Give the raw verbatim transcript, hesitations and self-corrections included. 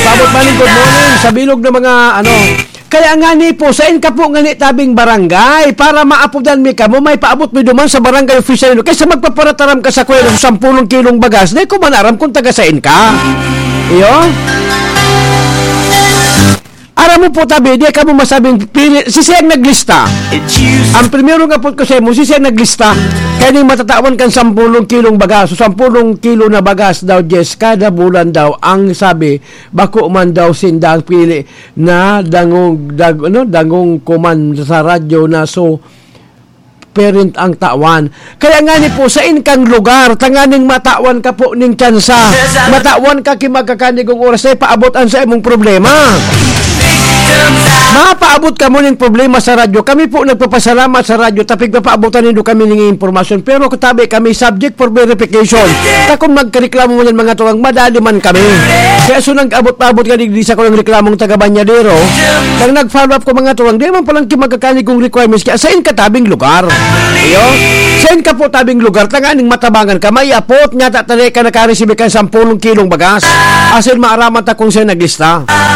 Abot man, good morning sa bilog na mga ano. Kaya nga ni po, sain ka po nga ni tabing barangay para maapodan mi kamo, may paabot mi duman sa barangay official nindo. Kaysa magpaparataram ka sa kuya ng sampulong kilong bagas, di ko man aram kung taga sain ka. Iyo? Aram mo po tabi, di ka mo masabing pili, si siyang naglista. Ang primero nga po ko sa mo, si siyang naglista. Kaya ni matatawan kan sampulong kilong bagas, o sampulong kilo na bagas daw, Jess, kada bulan daw, ang sabi, bako man daw sindang pili na dangog, dag, ano, dangog kuman sa radyo na so parent ang tawan. Kaya nga ni po, sain kang lugar, tanganing matawan ka po ning tsansa. Matawan ka ki magkakanigong oras ay paabot an sa imong problema. Mapaabot ka mo ning problema sa radyo. Kami po nagpapasalamat sa radyo, tapig papaabotan nindo kami ning impormasyon. Pero katabi kami subject for verification. Ta kung magkareklamo mo yan, mga tuwang, madali man kami. Kaya so nag-abot-abot ka digdi sa kulang reklamong taga Banyadero, nang nag-follow up ko, mga tuwang, di man palang ki magkakanigong requirements, kaya sain ka tabing lugar? Iyo? Sain ka po tabing lugar? Tanganing matabangan ka, may apot, nga tatali ka nakaresibi ka sampulong kilong bagas. Asin maaraman ta kung siya naglista.